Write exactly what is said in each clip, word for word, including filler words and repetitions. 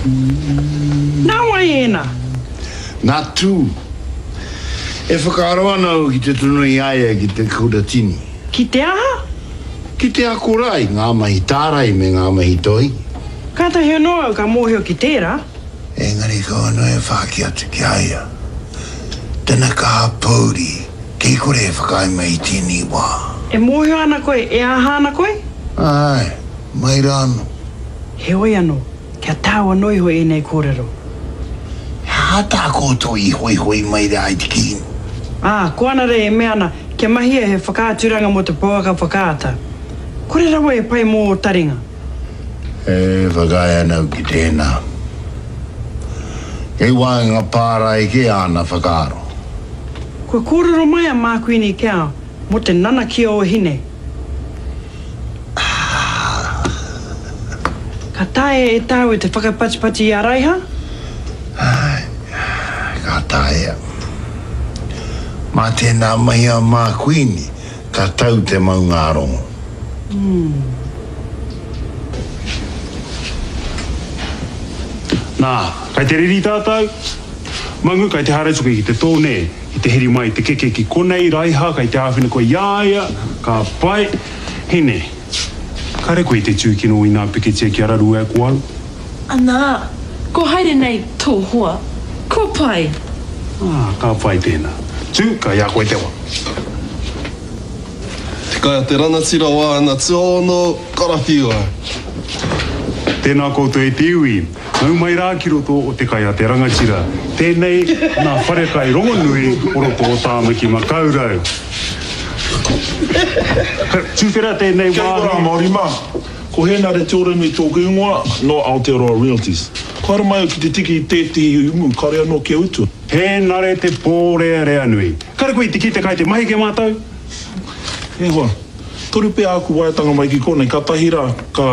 Nā wai ēnā? Nā Tū. E whakaaro ana au ki te tono i a ia ki te kuratini. Ki te aha? Ki te ako rā i ngā mahi tārai me ngā mahi toi. Kātahi anō au ka mōhio ki tērā. Engari kaua noa e whāki atu ki a ia. Tana kaha pōuri, kei kore e whakaae mai i tēnei wā. E mōhio ana koe e aha ana koe? Āe, mai rā anō. Heoi anō, kia tāu anō iho ēnei kōrero. He aha tā koutou i hoihoi mai rā i te kēmu? Ā, ko Anare e mea ana kia mahia he whakaaturanga mō te pouaka whakaata. Kore rawa e pai mō ō taringa. E whakaae ana au ki tēnā. Kei waenga pārae kē āna whakaaro. Kua kōrero mai a Mākuini Cow mō te nanakia o Hine. Ka taea e tāua te whakapatipati i a Raiha? Āe, ka taea. Mā tēnā mahi a Mākuini ka tau te maungārongo. Nā, kai te riri tātou? Mangu, kai te haere atu koe ki te tō, nē? Ki te heri mai i te keke ki konei, Raiha, kai te āwhina koe i a ia, ka pai. Hine, kare koe i te tūkino i nā pikitia kia raru ai ko au? Anā, ko haere nei tō hoa. Kua pai. Ā, ka pai tēnā. Tū, kai a koe te wa. Te kai a te ranatira o āna tuaono, karawhiua. Tēnā koutou e te iwi. Nau mai rā ki roto o Te Kai a te Rangatira. Tēnei nā wharekai rongonui o roto o Tāmaki Makaurau. Tuwhera tēnei Kia ora wāhi. Māori mā. Ko Hēnare Te Oranui tōku ingoa, nō Aotearoa Realties. Kua haere mai au ki te tiki i tētehi umu kāore anō kia utua. Hēnare te pōreareanui. Kare koe i te kite kai te mahi ke mātou? E hoa, toru pea āku waeatanga mai ki konei, kātahi rā ka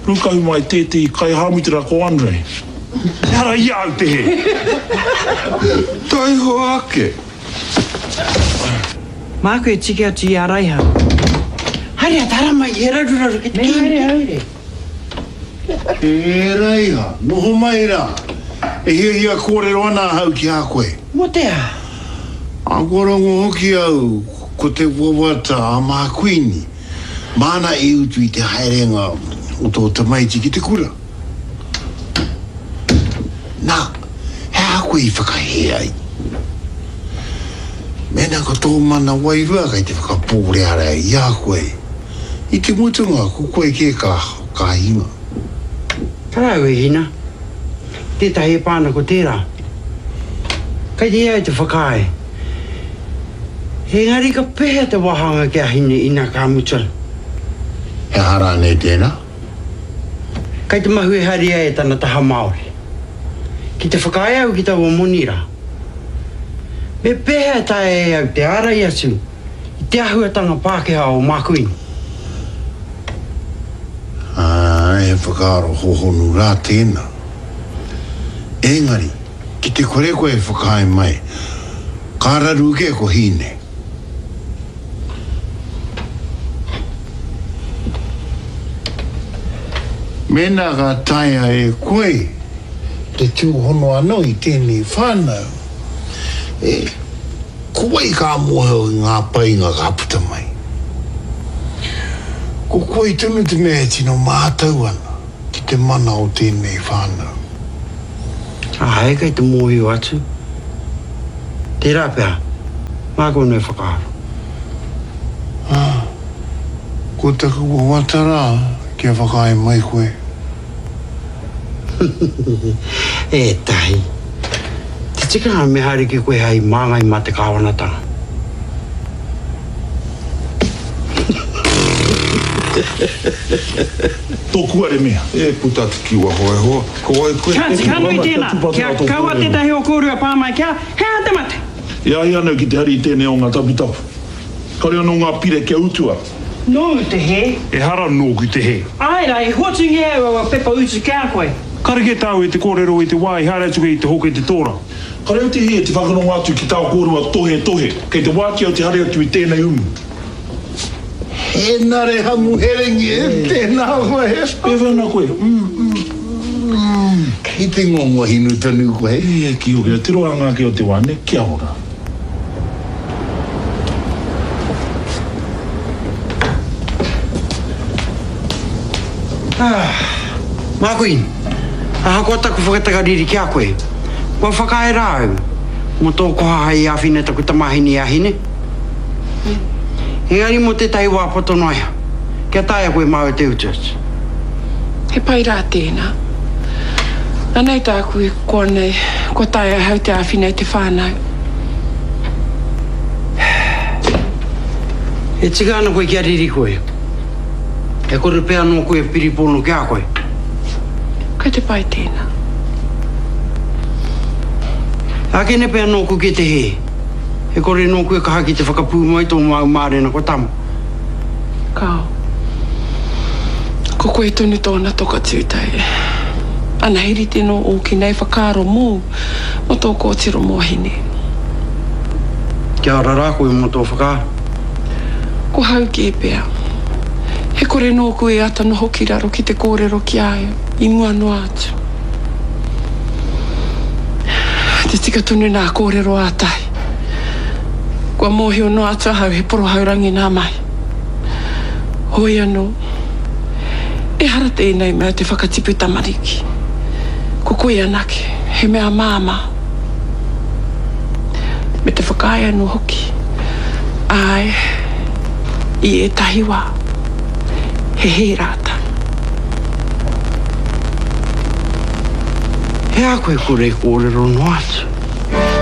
rūkahu mai tētehi kaihāmutera ko Andre. Ehara i a au te hē. Taihoa ake! Māku e tiki atu i a Raiha. Haere atu, haramai, he raruraru ki te Me haere, haere. E Raiha, noho mai rā. E hiahia kōrero ana ahau ki a koe. Mō te aha? Ā, kua rongo hoki au ko te wawata a Mākuini, māna e utu i te haerenga o tō tamaiti ki te kura. Nā, he aha koe i whakahē ai? Mēnā ko tō mana wairua kei te whakapōrearea i a koe, i te mutunga ko koe kē ka, ka hinga. Tarau e Hina. Tētahi e pā ana ko tērā. Kei te au te whakaae. Engari ka pēhea te wāhanga ki a Hine ina ka mutu? He aha rānei tēnā? Kei te mahue haere ia e tana taha Māori. Ki te whakaae au ki taua moni rā, me pēhea e taea e au te ārai atu i te āhuatanga Pākehā o Mākuini? Āe, he whakaaro hōhonu rā tēnā. Engari, ki te kore koe e whakaae mai, ka raru kē ko Hine. Mēnā ka taea e koe te tūhono anō i tēnei whānau, e, ko wai ka mōhio i ngā painga ka puta mai? Ko koe tonu te mea e tino mātau ana ki te mana o tēnei whānau. Āe, kei te mōhio atu. Tērā pea, māku anō e whakaaro. Ā, ko taku wawata rā kia whakaae mai koe. E Tahi, te tikanga me haere ki koe hei māngai mā te kāwanatanga. Tōku are mea. E puta atu ki waho e hoa, ko wai koe? Ka tika nui tēnā, kia kaua tētahi o kōrua pā mai kia, he aha te mate? E ai ana au ki te hari i tēnei o ngā taputapu. Kāore anō ngā pire kia utua. Nōu te hē. Ehara nōku te hē. Āe rā, i hoatungia au aua pepa utu ki a koe. Kare kē tāu e te kōrero i te wā i haere atu koe i te hoke i te tōra. Kare au te hē te whakarongo atu ki tā kōrua tohetohe, kei te wāki au te hari atu i tēnei umu. Hēnare Hamuherengi, tēnā koe. Pēwhea ana koe? I te ngongo hinu tonu koe. E, ki hoki, tiro a ngā ki o te wāne, kia ora. Ah, Mākuin, ahakoa taku whakatakariri ki a koe, kua whakaae rā au, mō tō koha hai āwhina taku tamāhine a Hine. Engari mō tētahi wā poto noa iho, kia taea koe māu te utu atu. He pai rā tēnā. Anei tāku e koa nei, kua taea ahau te āwhina i te whānau. E tika ana koe kia riri koe. E kore pea anō koe e piripono ki a koe. Kei te pai tēnā. Ākene pea nōku ki te hē. E kore nōku e kaha ki te whakapūmau i tō māu mārena ko tama. Kao. Ko koe tonu tōna toka tūtei. Ana he rite nō ōki nei whakaaro mōu, mō tō kōtiro mō Hine. Kia ora rā koe mō tō whakaaro. Ko hau kē pea. He kore nōku e ata noho ki raro ki te kōrero ki a ia, i mua noa atu. Te tika tonu nā kōrero ātahi. Kua mōhio noa atu ahau he porohaurangi nā mahi. Hoi anō, ehara tēnei mea te whakatipu tamariki. Ko koe anake, he mea māmā. Me te whakaae anō hoki. Āe, i ētahi wā, he hē rātou. He aha koe kore kōrero noa atu?